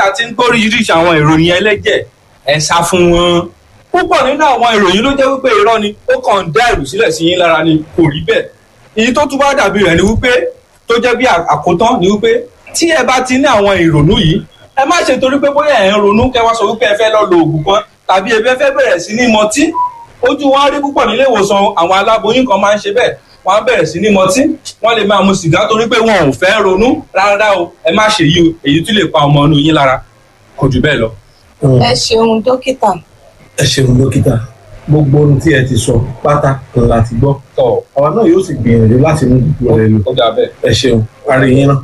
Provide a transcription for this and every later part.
tí a ti ń gbóríṣiríṣi àwọn ìròyìn ẹlẹ́jẹ̀, ẹ sá fún wọn. Púpọ̀ nínú àwọn ìròyìn ló jẹ́ wípé irọ́ ni, ó kàn ń dá ẹ̀rù sílẹ̀ sí yín lára ni, kò rí bẹ́ẹ̀. Èyí tó tún bá dàbí rẹ̀ ni wípé, tó jẹ́ bí àkótán ni wípé, tí ẹ bá ti ní àwọn ìrònú yìí, ẹ má ṣe torí pé bóyá ẹ ń ronú kẹ́ wá sọ wípé ẹ fẹ́ lọ lo oògùn kan tàbí ẹ fẹ́ bẹ̀rẹ̀ sí ní mọtí. Ojú wọn rí púpọ̀ nílé ìwòsàn, àwọn aláboyún kan máa ń ṣe bẹ́ẹ̀, wọ́n á bẹ̀rẹ̀ sí ní mọtí, wọ́n lè máa mu sìgá torí pé wọn ò fẹ́ ronú. Rárá o, ẹ má ṣe yí o, èyí tún lè pa ọmọ inú yín lára. Kò jù bẹ́ẹ̀ lọ. Ẹ ṣeun dókítà. Ẹ ṣeun dókítà, gbogbo ohun tí ẹ ti sọ pátá la ti gbọ́. Tọ́. Àwa náà yóò sì gbìyànjú láti mú gbogbo rẹ lò. Ó dà bẹ́ẹ̀. Ẹ ṣeun, parí yín náà.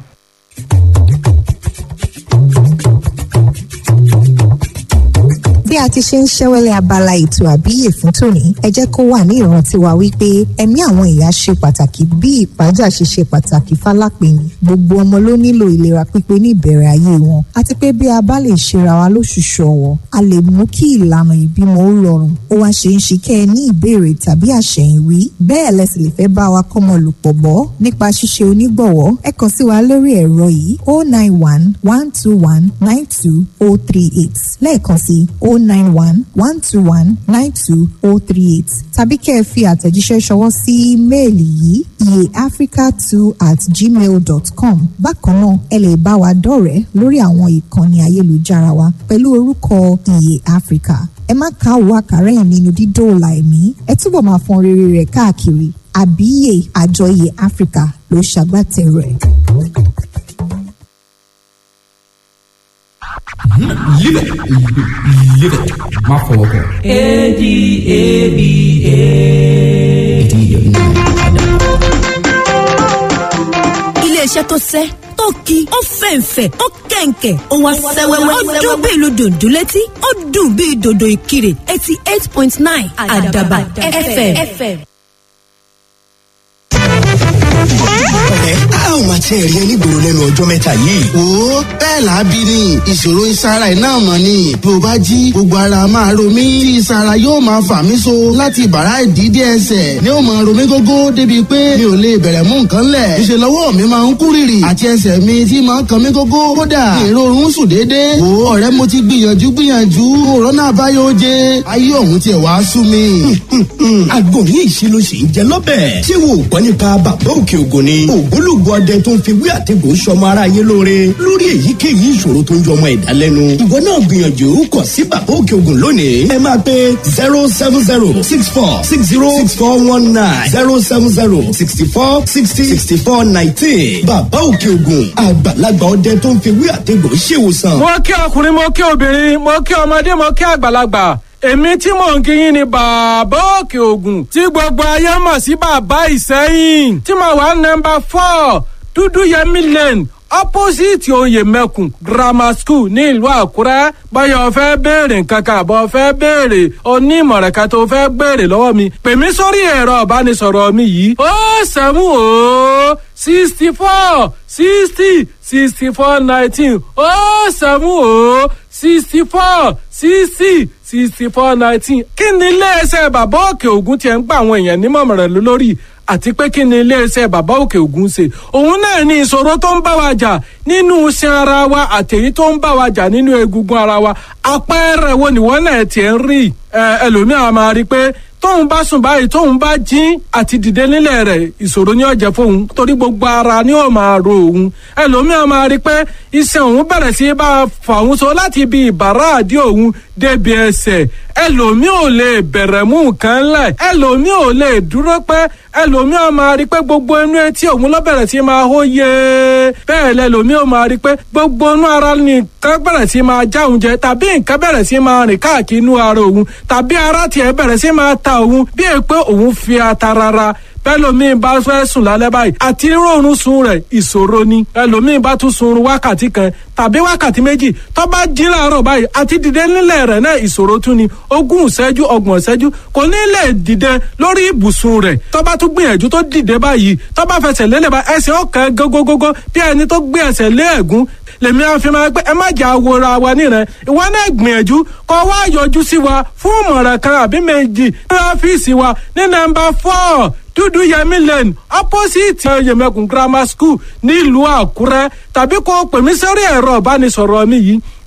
Bí a ti ṣe ń ṣẹ́wẹ́lẹ̀ abala ètò àbíyè fún tòní, ẹ jẹ́ kó wà ní ìrántí wa wípé ẹ̀mí àwọn ìyá ṣe pàtàkì bí ìpájà ṣe ṣe pàtàkì fálápẹ̀yìn. Gbogbo ọmọ ló nílò ìlera pípé ní ìbẹ̀rẹ̀ ayé wọn, àti pé bí a bá lè ṣera wa lóṣùṣù ọ̀wọ̀, a lè mú kí ìlànà ìbímọ ó rọrùn. Ó wá ṣe ń ṣe kẹ́ ẹ ní ìbéèrè tàbí àṣẹ̀yìnwí, bẹ́ẹ̀ lẹ sì lè fẹ́ bá wa kọ́mọ lòpọ̀ bọ́ nípa ṣíṣe onígbọ̀wọ́. Ẹ kàn sí wa lórí ẹ̀rọ yìí: 091 121 92038, lẹ́ẹ̀kan sí 091 121 92038, tàbí kẹ́ ẹ fi àtẹ̀jíṣẹ́ ṣọwọ́ sí ímeèlì yìí: iyeafrica2@gmail.com. Bákan náà, ẹ lè bá wa dọ̀rẹ́ lórí àwọn ìkànnì ayélujára wa pẹ̀lú orúkọ Iye Africa. Ẹ má káwọ́ àkàrà ẹ̀ nínú dídóòlà ẹ̀mí, ẹ túbọ̀ máa fọn rere rẹ̀ káàkiri. Àbíyè àjọ Iye Africa ló ṣagbátẹrù ẹ̀. Live it, live it, má fọwọ́ kàn. ADABA. Iléeṣẹ́ tó sẹ́ tó ki, ó fẹ̀ǹfẹ̀, ó kẹ̀ǹkẹ̀, ó wá sẹ́wẹ́wẹ́, ó dún bí ìlú dòdò létí, ó dùn bí dòdò ìkirè. 88.9 Àdàbà FM. Ọ̀rẹ́, a ò máa tiẹ̀ rí ẹ nígboro lẹ́nu ọjọ́ mẹ́ta yìí. Wo, bẹ́ẹ̀ làábí ni ìṣòro ìsara iná mọ̀ ni. Bí o bá jí, gbogbo ara máa ro mí tí ìsara yóò máa fà mí so láti bàrá ìdídé ẹsẹ̀ ni ó máa ro mí gógó, débi pé mi ò lè bẹ̀rẹ̀ mú nǹkan lẹ̀. Ìṣe lọ́wọ́ mi máa ń kú rìrì àti ẹsẹ̀ mi tí máa ń kan mí gógó. Kódà èrò oorun sùn déédéé. Wo ọ̀rẹ́, mo ti gbìyànjú gbìyànjú, òrónà àbáyọ oje, ayé òun tiẹ̀ wá sú mi. Àgbo ní ìṣirò sì ń jẹ lọ́bẹ̀. Ṣé wo ò gbọ́ nípa Bàbá Òkè Ògùn ni? Ògbólógbò ọdẹ tó ń fi wí àtẹ̀gùn sọmọ aráyé lóore lórí èyíkéyìí ìṣòro tó ń jọmọ ẹ̀dá lẹ́nu. Ìwọ náà gbìyànjú kàn sí Bàbá Òkè Ògùn lónìí. Ẹ máa pe 07064606419, 07064606419. Bàbá Òkè Ògùn, àgbàlagbà ọdẹ tó ń fi wí àtẹ̀gùn ṣèwòsàn. Mo kí ọkùnrin, mo kí obìnrin, mo kí ọmọdé, mo kí àgbàlagbà. Èmi tí mò ń kíyìn ni Bàbá Òkè Ògùn, tí gbogbo ayé mọ̀ sí Bàbá Ìsẹ́yìn, tí mo wà nọ́mbà 4 Dúdú Yẹmí Lane, opposite Oyè Mẹ́kùn Grammar School ní ìlú Àkúrẹ́. Báyọ̀ fẹ́ béèrè nǹkan kan àbọ̀ fẹ́ béèrè onímọ̀ràn kan tó fẹ́ béèrè lọ́wọ́ mi, pè mí sórí ẹ̀rọ ìbánisọ̀rọ̀ mi yìí: 070 64 60 64 19, 070 64 60 64 19. Kí ni iléeṣẹ́ Bàbá Òkè Ògùn tiẹ̀ ń gba àwọn èèyàn nímọ̀ràn lórí, àti pé kí ni iléeṣẹ́ Bàbá Òkè Ògùn ṣe? Òun náà ní ìṣòro tó ń bá wa jà nínú iṣan ara wa àtèyí tó ń bá wa jà nínú egungun ara wa. Àpẹẹrẹ wo nìwọ náà tiẹ̀ ń rí? Ẹlòmíràn máa rí i pé tóun bá sùn báyìí, tóun bá jí, àti dìde nílẹ̀ rẹ̀, ìṣòro ni ó jẹ́ fóun, torí gbogbo ara ni ó máa ro òun. Ẹlòmíràn máa rí pé iṣan òun bẹ̀rẹ̀ sí bá a fà òun so láti ibi ìbàrá àdí òun débi ẹsẹ̀. Ẹlòmíì ò lè bẹ̀rẹ̀ mú nǹkan lẹ̀, ẹlòmíì ò lè dúró pẹ́. Ẹlòmíì máa rí pé gbogbo inú etí òun ló bẹ̀rẹ̀ sí máa hó yé. Bẹ́ẹ̀ lẹlòmíì ò máa rí pé gbogbo inú ara nìkan bẹ̀rẹ̀ sí máa já òun jẹ, tàbí nǹkan bẹ̀rẹ̀ sí máa rìn káàkiri inú ara òun, tàbí ara tiẹ̀ bẹ̀rẹ̀ sí máa ta òun bí è pé òun fi ata rárá. Bẹ́lòmíì bá fẹ́ sùn lálẹ́ báyìí, àti rọrùn sun rẹ̀, ìṣòro ni. Ẹlòmíì bá tún sunrun wákàtí kan tàbí wákàtí méjì, tó bá jí láàárọ̀ báyìí, àti dìde nílẹ̀ rẹ̀ náà, ìṣòro tún ni. 20 ìṣẹ́jú, 30 ìṣẹ́jú, kò ní lè dìde lórí ibùsùn rẹ̀. Tó bá tún gbìyànjú tó dìde báyìí, tó bá fẹsẹ̀ lélẹ̀ bá, ẹsẹ̀ ọ̀kan gógógógó bí ẹni tó gbé ẹsẹ̀ lé ẹ̀gún. Lèmi àfi máa pé ẹ má jà wòra wa níran. Ìwọ náà gbìyànjú kó wá yọjú sí wa fún ìmọ̀ràn kan àbí méjì ní ọ́fíìsì wa ní nọ́mbà 4 Dúdú Yẹmí Lane, opposite Yẹmẹkùn Grammar School nílùú Àkúrẹ́, tàbí kó pè mí sórí ẹ̀rọ ìbánisọ̀rọ̀ mi yìí.